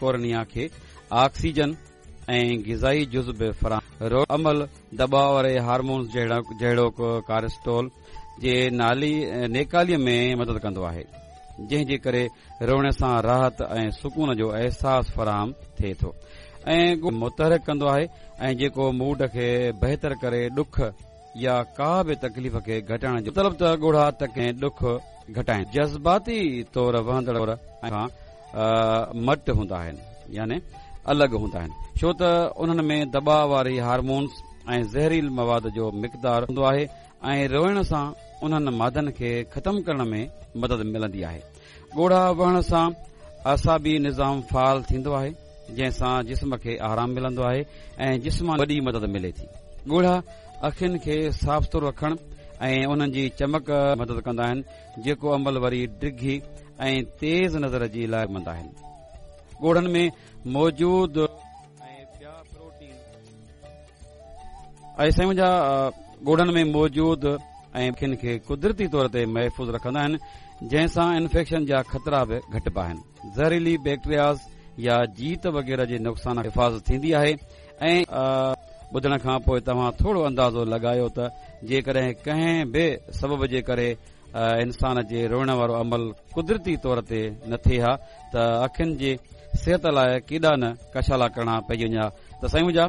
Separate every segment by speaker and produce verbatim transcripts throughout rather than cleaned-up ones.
Speaker 1: ڪورنيا کي آڪسيجن ۽ غذائي جز به فراهم عمل دٻاء واري هارمونز جهڙوڪ ڪارٽيسول جي نالي نيڪالي ۾ مدد ڪندو آهي، جنهن جي ڪري روئڻ سان راحت ۽ سڪون جو احساس فراهم ٿئي ٿو ۽ متحرڪ ڪندو آهي ۽ جيڪو موڊ کي بهتر ڪري ڏک يا ڪا به تڪليف کي گهٽائڻ جو مطلب ته ڳوڙها ۽ ڏک گهٽائن جذباتي طور وهندڙ کان مٽ هوندا آهن، يعني الڳ هوندا آهن، ڇو ته انهن ۾ دٻاء واري هارمونز ۽ زهريل مواد جو مقدار هوندو آهي ۽ روئڻ سان انهن مادن کي ختم ڪرڻ ۾ مدد ملندي آهي. ڳوڙها وهڻ سان اعصابي نظام فعال ٿيندو آهي، جنهن سان جسم کي آرام ملندو آهي ۽ جسماني وڏي مدد ملي ٿي. ڳوڙها اکين کي صاف سٿرو رکڻ ۽ انهن جي چمڪ مدد ڪندا آهن، جيڪو عمل وري ڊگهي ۽ تيز نظر جي لاء مند آهن. ڳوڙهن ۾ موجود ۽ ٻيا پروٽين ۽ سائين منهنجا ڳوڙهن ۾ موجود ۽ اکين کي قدرتي طور تي محفوظ رکندا آهن، جنهن سان انفيڪشن جا خطرا به گهٽبا آهن. زهريلي بيڪٽرياز يا جيت وغيره جي نقصان حفاظت ٿيندي آهي ۽ ٻڌڻ کان پوء توهان ٿورو اندازو لڳايو ته جيڪڏهن ڪنهن به سبب جي ڪري انسان جي روئڻ وارو عمل قدرتي طور تي نه ٿئي ها ته اکين جي صحت لاء ڪيڏا نه ڪشالا ڪرڻا پئجي وڃن ها. ته سائين منهنجا،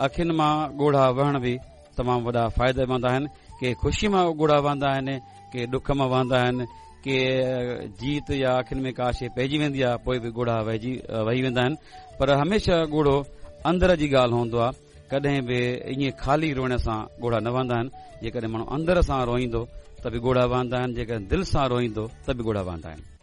Speaker 1: اکين مان ڳوڙها وهڻ به تمام وڏا فائديمند آهن. ڪي خوشي مان ڳوڙها وهندا آهن، ڪي ڏک مان وهندا آهن، ڪي جيت يا اکين ۾ ڪا شيء پئجي ويندي آهي پوء به ڳوڙها وهجي وهي ويندا آهن، پر هميشه ڳوڙهو اندر جي ڳالهه هوندو آهي. ڪڏهن به ائين خالي روئڻ سان ڳوڙها نه وهندا آهن. جيڪڏهن ماڻهو اندر سان روئيندو ته به ڳوڙها وهندا آهن، جيڪڏهن دل سان روئيندو ته به ڳوڙها وهندا آهن.